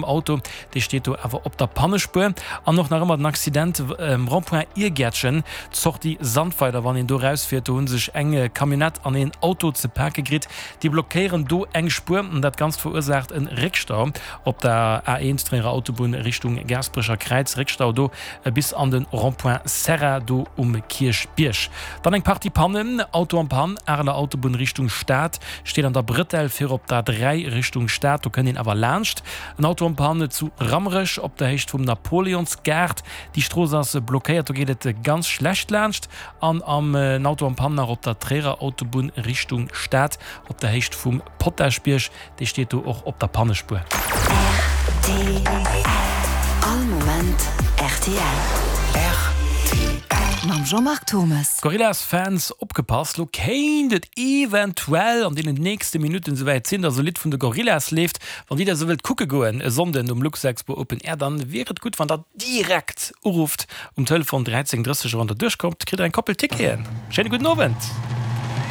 Auto, dee steet do awer op der Pannespuer. An och nach ëmmer den Accident um Rond-point Iergäertchen, Sortie Sandweiler, wann een do rausfiert. Do hu sech eng Camionnette an een Auto ze pake kritt. Déi blockéieren do eng Spuer an dat Ganzt verursaacht e Réckstau op der A1, Tréierer Autobunn Richtung Gaasperecher Kräiz. Réckstau do bis an de Rond-point Serra do um Kierchbierg. Dann eng Partie Pannen, Auto en Panne, Areler Autobunn Richtung Stad, steet an der Brëtell fir op der 3 Richtung Stad, do kënnt een awer laanscht. En Auto en Panne zu Rammerech op der Héicht vum Napoleonsgaart, déi Strooss ass blockéiert, do geet et ganz schlecht laanscht. An am en Auto en Panne nach op der Tréierer Autobunn Richtung Stad op der Héicht vum Potaschbierg, Dee steet do och op der Pannespuer. Rtl, All Moment rtl. Rtl. Mam Jean-Marc Thommes. Gorillaz Fans opgepasst, lo kéint et eventuell an deenen nächste Minutten esouwäit sinn, dass e Lidd vun de Gorillaz leeft. Wann dir dat esou wëllt kucke goen e Sonnden um Luxexpo Open Air, dann wier et gutt wann der direkt urufft um Telefon 13 30 a wann der duerchkommt kritt der eng Koppel Ticketen. Schéine gudden Owend.